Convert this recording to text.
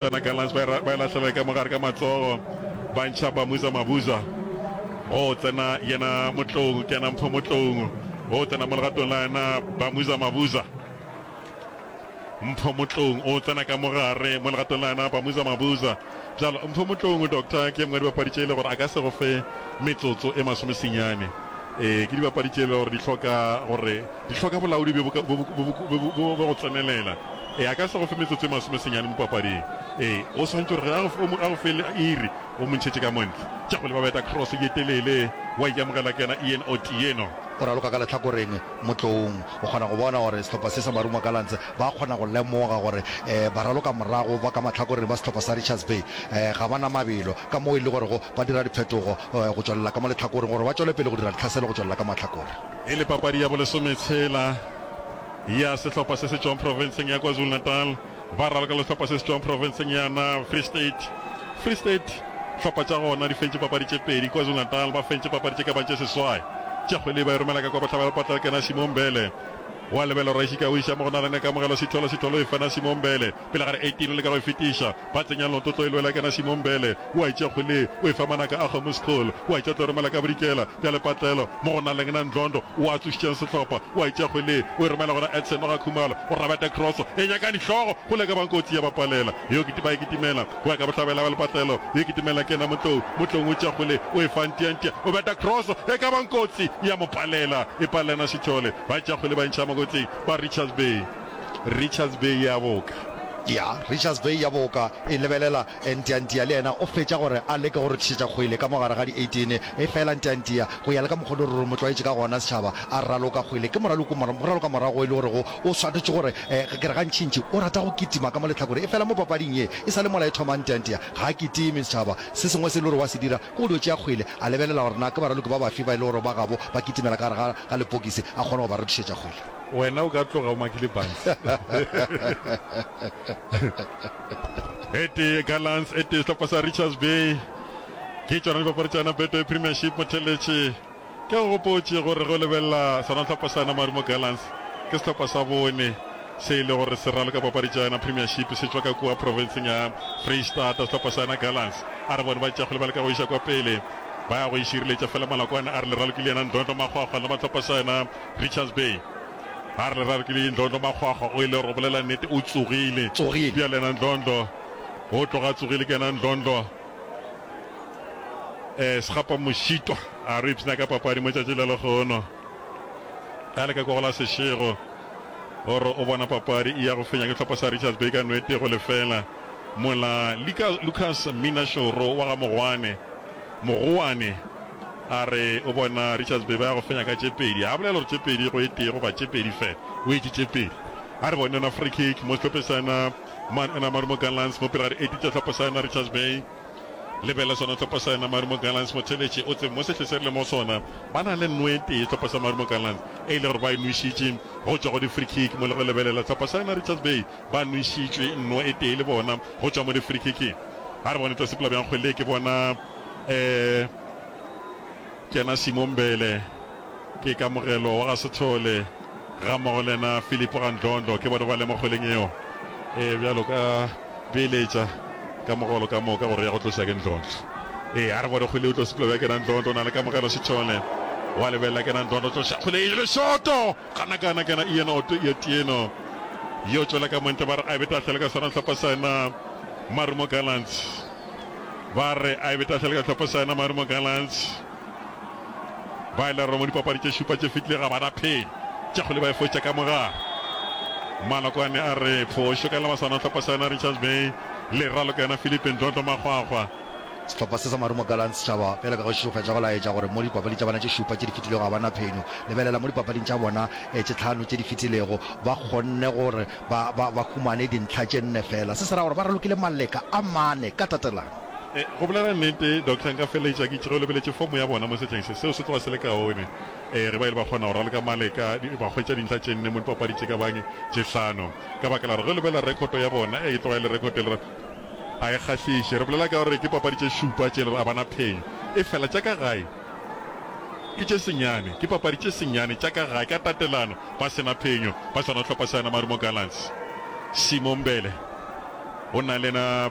Tsena Gallants ba e lahlela ka mogare ka matsogo, ba ntšha Bamuza Mabuza. Go tsena yena Motloung, ke yena Mpho Motloung. Go tsena mo legatong la yena Bamuza Mabuza. Mpho Motloung o tsena ka mogare mo legatong la yena Bamuza Mabuza. Bjalo Mpho Motloung, Doctor, ke ye nngwe ya dibapadi tše e le gore a ka se go fe metsotso e masomesenyane. Ee, ke dibapadi tše e le gore di hloka gore Di hloka bolaodi bjo bo go tsenelela. Ee, a ka se go fe metsotso e masomesenyane mo papading. Ee, o swanetše gore ge a go fe iri, o mo ntšhetše ka mo ntle. Tša go leba beta cross ye telele, wa e amogela ke yena Ian Otieno. O raloka ka lehlakoreng Motloung. O kgona go bona gore sehlopha se sa Marumo Gallants ba kgona go lemoga gore baralokamorago ba ka mahlakoreng ba sehlopha sa Richards Bay ga ba na mabelo, ka moo e le gorego ba dira diphetogo go tšwelela ka mo lehlakoreng gore ba tšwele pele go dira ditlhaselo go tšwelela ka mahlakore. E le papadi ya bolesometshela ya sehlopha se se tšwang profenseng ya KwaZulu-Natal ba raloka le sehlopha se se tšwang profenseng ya na Free State. Free State hlopha tša gona di fentše papadi tše pedi, KwaZulu-Natal ba fentše papadi tše ka bang tše seswai. Tša kgwele ba e romela ka kwa bohlaba ya lepatla ke na Simon Mbele. Wa lebelo Raishika o iša mo go na le Kamogelo Sitholo, Sitholo e fana Simon Mbele pele ga re 18 o leka go e fetiša. Ba tsenya leoto tlo e lwela kena Simon Mbele o a e tšea kgwele o e fa manaka a kgomo School o a e tšea tlo romela ka bodikela bja lepatlelo mo go naleng na Ndlondo o a tsošitšeng sehlopha o a e tšea kgwele o e romela gona Edson wa ga Khumalo o rabeta cross e nyaka dihlogo go leka bang kotsi ya ba palela yo ba e kitimela go ya ka bohlabela bja lepatlelo yo kitimela kena Motlou Motlou o tšea kgwele o e fa Ntiantia o beta cross e ka bang kotsi ya mo palela e palela Sithole ba e tšea kgwele ba e ntšha mokotsing ba Richards Bay Richards Bay ya boka. Ya, Richards Bay ya boka e lebelela Ntiantia le yena o fetša gore a leke go rothišetša kgwele ka mo gare ga di 18. Efela Ntiantia, go ya le ka mokgwa o le gore re mo tlwaetše ka gona setšhaba, a raloka kgwele. Ke moraloko, moraloka morago e le gorego o swanetše gore, ke re gantšintši o rata go kitima ka mo lehlakoreng. Efela mo papading ye, e sa le mola e thoma Ntiantia ga a kitime setšhaba. Se sengwe se e le gore wa se dira ke go dio tšea kgwele, a lebelela gore na ke baraloki ba bafe ba e le gore ba gabo ba kitimela ka gare ga, ga lepokisi, a kgone go ba rothišetša kgwele. Wena o ka tloga o makile buns. E tee Gallants, e tee sehlopha sa Richards Bay. Ke tšona dipapadi tša yona Betway Premiership motheletše. Ke go gopotše gore ge o lebelela sona sehlopha sa yona Marumo Gallants ke sehlopha sa bone se e le gore se raloka papadi tša yona Premiership se tšwa ka kua profenseng ya Freistata sehlopha sa yona Gallants. A re bone ba tšea kgole ba leka go iša kwa pele ba ya go e šireletša fela Malakwane a re le ralokile yena Ndlondlo Makgwakgwa le ba sehlopha sa yona Richards Bay. A re le rarokile Ndlondlo Makgwakgwa o ile gore o bolela nnete o tsogile. Tsogile. Bjale yena Ndlondlo o tloga a tsogile ke yena Ndlondlo eh Segapa Mošitwa a re ipshina ka papadi mo tšatši la lehono. A le ka kwa go la Seshego gore o bona papadi e ya go fenya ke hlopha sa Richards Bay ka nwete go lefela mola Lucas Mina Šoro wa ga Mogwane Mogoane a re o bona Richards Bay ba ya go fenya ka tše pedi. A bolela gore tše pedi go e tee goba tše pedi fela. O etše tše pedi. A re bone yona free kick mo sehlopheng sa yona Man ena Marumo Gallants mo pele ga di-18 tša sehlopha sa yona Richards Bay. Lebelela sona sehlopha sa yona Marumo Gallants motheletši o tsebe mo sehle se re le mo sona ba na le nno e tee sehlopha sa Marumo Gallants e le gore ba e nwešitše go tšwa go di-free kick mo le go lebelela sehlopha sa yona Richards Bay ba nwešitšwe nno e tee le bona go tšwa mo di-free kicking. A re bone tlo sepela bjang kgwele ke bona um kena Simon Mbele ke Kamogelo wa ga Sethole ga mmogo le yena Philip ga Ndlondlo ke bone ba le mo kgweleng eo e bjalo ka beeletša Kamogelo ka moka gore ya go tloša ke Ndlondlo ee a re bone kgwele o tlo sepela bja kena Ndlondlo o na le Kamogelo Sethole wa lebelela kena Ndlondlo tloša kgwele e le shoto gana kana kena Ian Oto Otieno yo tšwela ka montle ba re a e be tahlelo ka sona sehlopha sa yena Marumo Gallants ba re a e be tahlelo ka sehlopha sa yena Marumo Gallants. Ba ile mo dipapadi tše šupa tše fetile ga ba na phenyo. Tša kgole ba e fotša ka mogare. Malokwane a re phošo ka lebasana sehlopha sa yena Richards Bay le raloka yena Philip Ndlondlo Makgwakgwa. Sehlopha se sa Marumo Gallants setšhaba bjalo ka ge se fetša go laetša gore mo dipapading tša bona tše šupa tše di fetilego ga ba na phenyo. Lebelela mo dipapading tša bona tše tlhano tše di fetilego ba kgonne gore ba, ba, ba humane dintlha tše nne feela. Se se ra gore ba ralokile maleka a mane ka tatelano. Go bolela nnete, Doctor, nka feleletša ke itše ge o lebeletše fomo ya bona mo sehleng se, seo se tloga se le kaone. Ge ba ile ba kgona go raloka maleka, ba hwetša dintlha tše nne mo dipapadi tše ka bang tše hlano. Ka baka la gore ge o lebelela rekhoto ya bona, e tloga e le rekhoto e le gore ga e kgahliše. Re bolela ka gore ke papadi tše šupa tše e le gore ga ba na phenyo. Efela tša ka gae ke tše senyane, ke papadi tše senyane tša ka gae ka tatelano ba se na phenyo, ba swana le hlopha sa yona Marumo Gallants. Simo Mbele. O na le yena.